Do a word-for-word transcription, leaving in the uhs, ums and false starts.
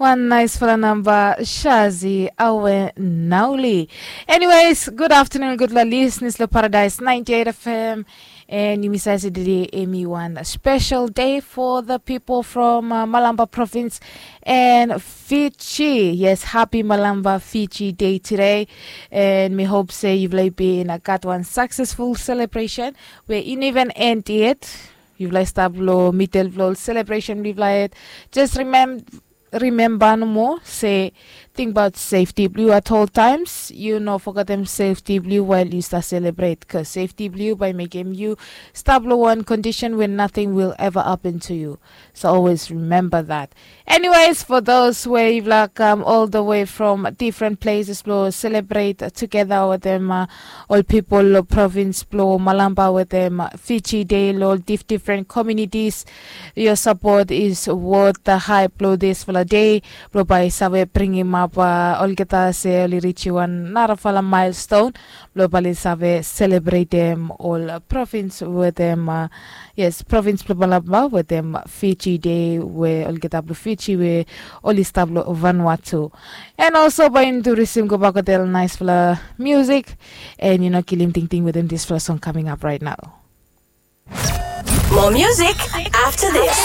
Wan naisfala namba Shazi Awe Nauli. Anyways, good afternoon, gudfala listeners lo Paradise ninety-eight F M. And yumi save se today emi wan special day for the people from uh, Malamba province and Fiji. Yes, happy Malamba Fiji Day today. And mi hope se yufala i bin uh, gat wan successful celebration where in even end yet. Yufala i stap lo middle blo celebration blo yufala yet. Just remember remember nomo se think about safety blue at all times. You know, forgotten safety blue while you start celebrate, because safety blue by making you stop lo one condition when nothing will ever happen to you. So always remember that. Anyways, for those where you've like come all the way from different places blo celebrate together with them uh, all people lo province blo Malamba with them uh, Fiji Day lo dif different communities. Your support is worth the hype lo this fala day. Blo bai save bringim up uh, olgeta se oli richi wan narafala milestone. Blo bali save celebrate them all uh, province with them uh, yes, province blo Malamba with them Fiji Day where olgeta blo Fiji where oli stap lo Vanuatu. And also bai yumi tu risim go back hotel nice fala music. And you know kilim ting ting with them this fala song coming up right now. More music after this.